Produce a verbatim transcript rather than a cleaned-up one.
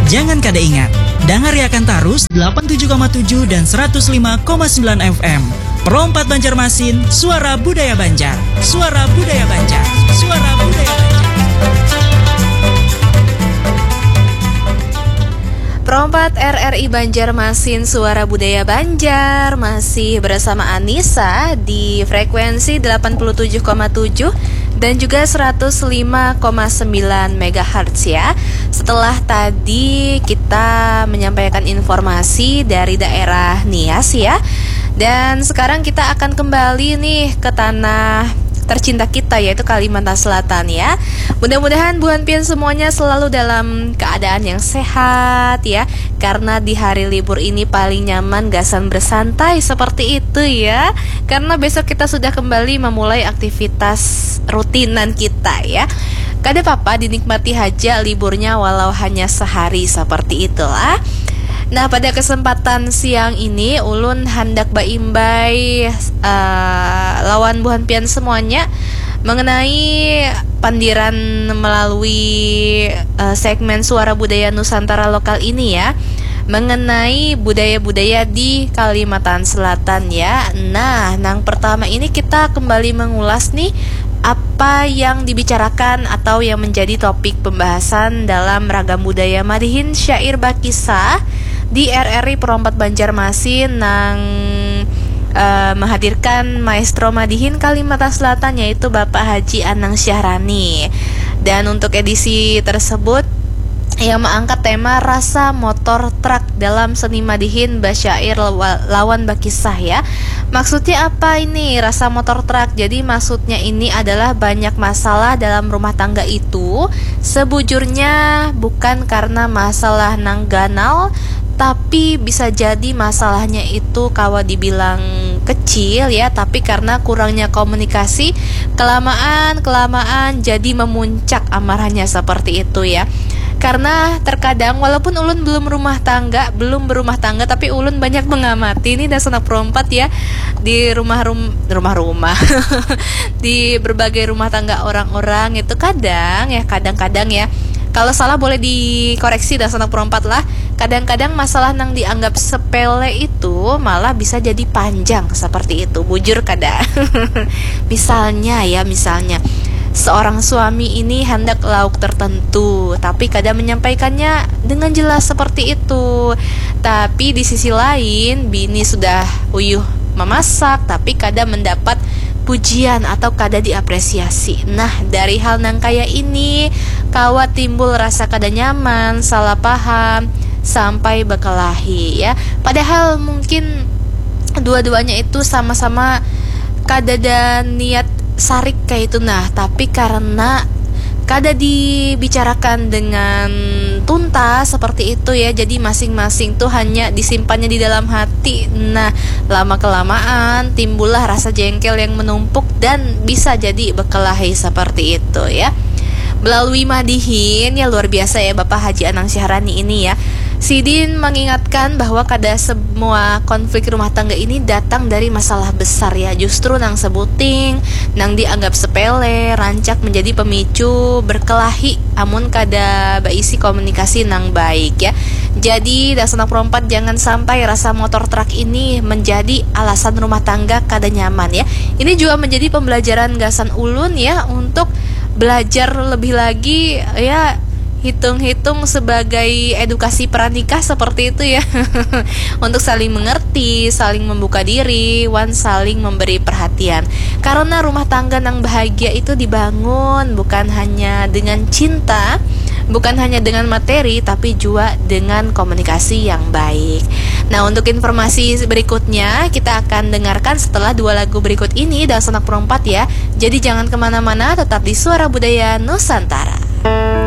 Jangan kada ingat, dangariakan tarus delapan tujuh koma tujuh dan seratus lima koma sembilan F M. Pro empat Banjarmasin, suara budaya Banjar. Suara budaya Banjar. Suara budaya Banjar. Pro empat R R I Banjarmasin, suara budaya Banjar, masih bersama Anissa di frekuensi delapan puluh tujuh koma tujuh dan juga seratus lima koma sembilan megahertz ya. Setelah tadi kita menyampaikan informasi dari daerah Nias ya. Dan sekarang kita akan kembali nih ke tanah tercinta kita, yaitu Kalimantan Selatan ya. Mudah-mudahan buhan pian semuanya selalu dalam keadaan yang sehat ya. Karena di hari libur ini paling nyaman gasan bersantai seperti itu ya. Karena besok kita sudah kembali memulai aktivitas rutinan kita ya. Kada apa-apa, dinikmati haja liburnya walau hanya sehari, seperti itulah. Nah, pada kesempatan siang ini ulun handak baimbai, eh, lawan buhan pian semuanya mengenai pandiran melalui, eh, segmen Suara Budaya Nusantara Lokal ini ya, mengenai budaya-budaya di Kalimantan Selatan ya. Nah, nang pertama ini kita kembali mengulas nih apa yang dibicarakan atau yang menjadi topik pembahasan dalam Ragam Budaya Madihin Syair Bakisah di R R I Pro empat Banjarmasin nang, eh, menghadirkan maestro madihin Kalimantan Selatan, yaitu Bapak Haji Anang Syahrani. Dan untuk edisi tersebut yang mengangkat tema rasa motor truk dalam seni madihin basyair lawa-, lawan bakisah ya. Maksudnya apa ini rasa motor truk? Jadi maksudnya ini adalah banyak masalah dalam rumah tangga itu sebujurnya bukan karena masalah nang ganal, tapi bisa jadi masalahnya itu kawa dibilang kecil ya, tapi karena kurangnya komunikasi, kelamaan kelamaan jadi memuncak amarahnya seperti itu ya. Karena terkadang walaupun ulun belum rumah tangga, belum berumah tangga, tapi ulun banyak mengamati nih dasar perompat ya di rumah rum rumah-rumah di berbagai rumah tangga orang-orang itu kadang ya, kadang-kadang ya, kalau salah boleh dikoreksi dasar perompat lah. Kadang-kadang masalah nang dianggap sepele itu malah bisa jadi panjang seperti itu. Bujur kada? Misalnya ya, misalnya seorang suami ini hendak lauk tertentu, tapi kada menyampaikannya dengan jelas seperti itu. Tapi di sisi lain, bini sudah uyuh memasak, tapi kada mendapat pujian atau kada diapresiasi. Nah, dari hal nang kaya ini, kawa timbul rasa kada nyaman, salah paham, sampai berkelahi ya. Padahal mungkin dua-duanya itu sama-sama kadada niat sarik kayak itu nah, tapi karena kada dibicarakan dengan tuntas seperti itu ya, jadi masing-masing tuh hanya disimpannya di dalam hati. Nah, lama kelamaan timbullah rasa jengkel yang menumpuk dan bisa jadi berkelahi seperti itu ya. Melalui madihin ya, luar biasa ya Bapak Haji Anang Syahrani ini ya. Sidin mengingatkan bahwa kada semua konflik rumah tangga ini datang dari masalah besar ya. Justru nang sebuting, nang dianggap sepele, rancak menjadi pemicu berkelahi amun kada baisi komunikasi nang baik ya. Jadi dasar perompat, jangan sampai rasa motor truk ini menjadi alasan rumah tangga kada nyaman ya. Ini juga menjadi pembelajaran gasan ulun ya untuk belajar lebih lagi ya, hitung-hitung sebagai edukasi pranikah seperti itu ya. Untuk saling mengerti, saling membuka diri, wan saling memberi perhatian. Karena rumah tangga nang bahagia itu dibangun bukan hanya dengan cinta, bukan hanya dengan materi, tapi juga dengan komunikasi yang baik. Nah, untuk informasi berikutnya kita akan dengarkan setelah dua lagu berikut ini dan Sanak Perompat ya. Jadi jangan kemana-mana, tetap di Suara Budaya Nusantara.